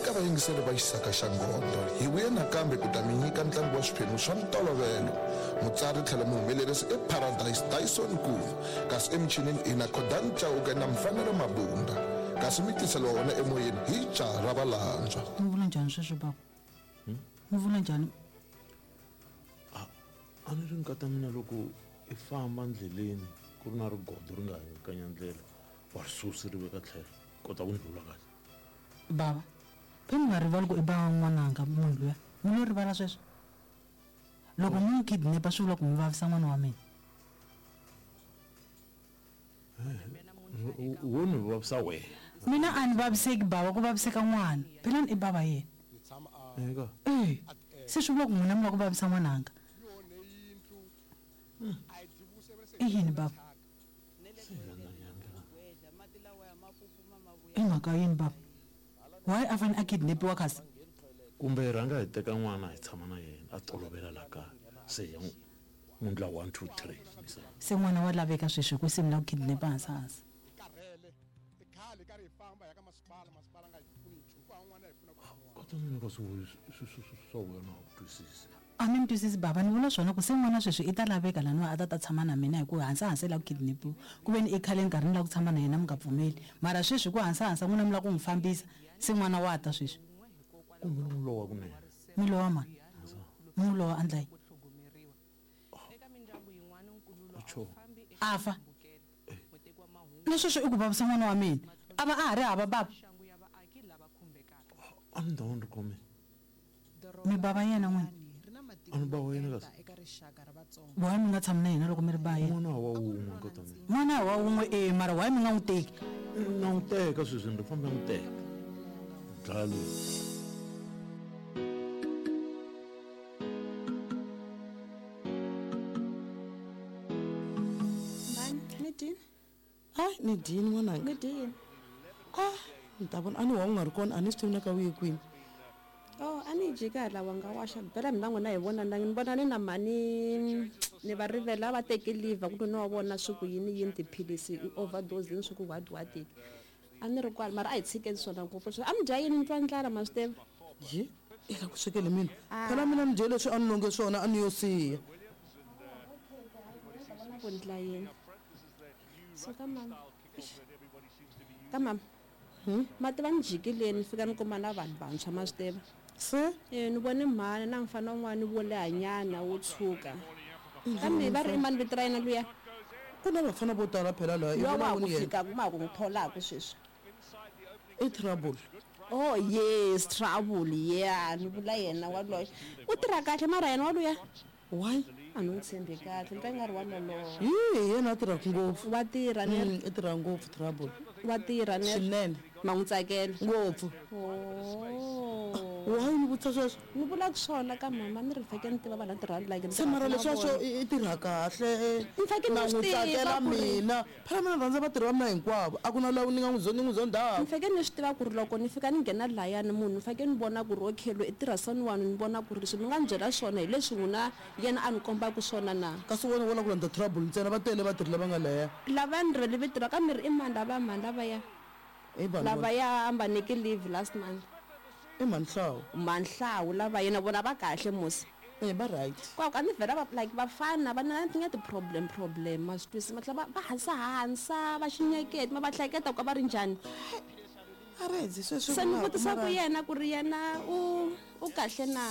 Eka vayingiseri va Xisaka xa Ngondo, hi vuye nakambe ku ta mi nyika ntlangu wa swiphemu swa ntolovelo. Mutsari tlhelo muhumelerisi i Paradise Dyson Nkuna, kasi emichinini hi na Khodani Chauke na Mfanelo Mabunda. Kasi mi tiseliwa wona emoyeni hi jaha ra Valandzwa. Mi vula njhani sweswo bava? Mi vula njhani? A a ni ri nkata mina loko i famba ndleleni ku ri na rigodo ri nga hingakanya ndlela wa ri susi ri veka tlhelo kota ku ndlula kahle. Bava, phe mi nga rivali ku i bava n'wananga munhu luya. Mi lo rivala sweswo? Loko mi n'wi kidnap-a swi vula ku mi vavisa n'wana wa mina. Wo ni vavisa wehe. Mina a ni vaviseki bava, ku vaviseka n'wana. Phela ni i bava yena. Eka. E, se swi vula ku n'wina mi lava ku vavisa n'wananga. I yini bava? I mhaka yini bava? Why a fane a kidnapiwa kasi? Kumbe hi rhanga hi teka n'wana hi tshama na yena a tolovela la kaya se hi ya n'wi ndla 1 2 3 misava. Se n'wana wa laveka sweswi hi ku se mi lava ku kidnapa hansi hansi. Kata mina kasi swa wena a wu twisisi. A ni mi twisisi bava, ni vula swona ku se n'wana sweswi i ta laveka laniwa a ta ta tshama na mina hi ku hansa hansa i lava ku kidnapiwa. Ku ve ni i khale ni karhi ni lava ku tshama na yena mi nga pfumeli. Mara sweswi hi ku hansa hansa n'wina mi lava ku n'wi fambisa, se n'wana wa ta sweswi. Kumbe ni n'wi lowa kunene. Mi lowa mani? Mi n'wi lowa a ndla yini? A A fa? Na sweswo i ku vavisa n'wana wa mina. A va a ha ri hava bava. A ni ta va ni ri khome. Mi bava yena n'wina? A ni ba wena kasi. Why mi nga tshami na yena loko mi ri ba yena? N'wana wa wun'we nkata mina. N'wana wa wun'we e mara why mi nga n'wi teki? Na n'wi teka sweswi ni ri famba n'wi teka. Dlaya loyi. Mhani, ni dyini? A ni dyini n'wananga. Ni dyini? A ni ta vona a ni wa u nga ri kona a ni swi tivi na ka u ye kwini. Oh, a ni dyi kahle wa nga waxa bela mina n'wina hi vona na ni vona ni na mhani ni va rivela va teke liver ku ni wa vona swi ku yini yini tiphilisi i overdose yini swi ku what what a ni ri kwala mara a hi tshikeni swona ngopfu a mi dya yini mi twa ndlala ma swi tiva Yi i la ku swekele mina phela mina ni dye leswi a ni longe swona a ni yo siya. Ku ndla yini so ka mama ka mama ma tiva ni jikile ni fika ni kuma na vanhu vantshwa ma swi tiva Se e ni vone mhani na mfana un'wana wo lehanyana wo tshuka kambe va ri i mani vito ra yena luya ku na vafana vo tala phela laha i luya vona wa ha ku wuni yena fika ma ha ku n'wi tholaka sweswi i trouble. Oh yes trouble yeah ni vula yena waloye u tirha kahle mara yena waluya Why? A ni n'wi tshembi kahle ni twa i nga ri wa loloha. Hi hi yena a tirhaka ngopfu. Wa tirha ne? I tirha ngopfu trouble. Wa tirha ne? Swinene. Ma n'wi tsakela? Ngopfu. Oh. Why ni vutisa sweswo? Ni vulaka swona ka mama ni ri feke ni tiva vanhu la tirhaka like ni Se mara tirhaka na leswiya swo vona. i tirha kahle Ni fake ni na swi n'wi tiva tsakela ku ri mina. Phela mina ni rhandza vatirhi va mina hinkwavo a ku na loyi ni nga n'wi ni n'wi zondhaka. Ni fake ni swi tiva ku ri loko ni fika ni nghena layani munhu ni fake ni vona ku ri okay loyi i tirha so ni wani ni vona ku ri leswi mi nga ni byela swona hi leswi n'wina yena a ni kombaka swona na. Kasi wena wo lava ku landza trouble ntsena va tele vatirhi lava nga laya. Lava ni rivele vito ra ka mi ri i mani lava mhani lavaya I vanhu va. lavaya a va nyiki leave last month. I mhani Hlawu. Mhani Hlawu lavaya na vona va kahle musi. E va right. Kwa a ni vhela va like vafana va na nga ti-problem problem ma swi twisisa ma tlhela va va hansa hansa va xinyeketi ma va hleketa ku va ri njhani. A ri hedzi sweswi Se ni vulaka vutisa ku mara. yena ku ri yena u u kahle na.